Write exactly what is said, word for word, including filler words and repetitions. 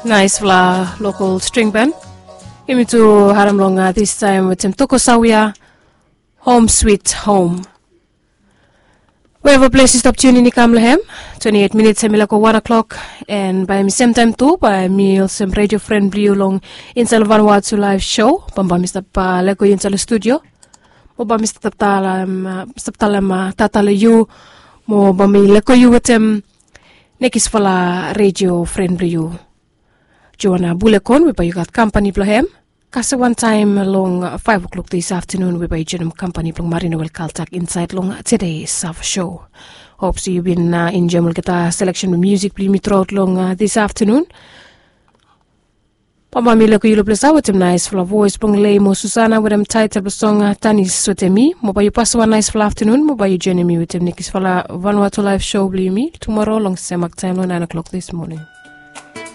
Naispela lokal string band. Yumi tu harim long distaim wetem Toko Sawia, Home Sweet Home. Wherever ples yu stap tunin i kam long hem, twenti eit minits hem i leko wan o'clock. En bai mi semtaim tu bai mi olsem redio fren bilong yu long insait long Vanuatu Live Show. Bambaim mi stap leko yu insait long studio. Mo bai mi stap talem tata long yu. Mo bai mi leko yu wetem nekisfala redio fren bilong yu, Joana Bulekon, we bai yu gat kampani bilong hem. Kasem wantaim long faiv o'clock dis aftanun we bai yu joinim kampani bilong Marina Wel Kaltak insait long Today's Sava Show. Hops yu bin enjoim olgeta selection bilong musik bilong yumi truaut long dis aftanun. Bambaim mi leko yu long ples wetem naispela voes bilong Lei mo Susana wetem taitel bilong song Tanis wetem mi. Mo bai yu pasem wan naispela aftanun mo bai yu joinim mi wetem nekisfala Vanuatu Live Show bilong yumi tumora long semak taim long nain o'clock dis moning.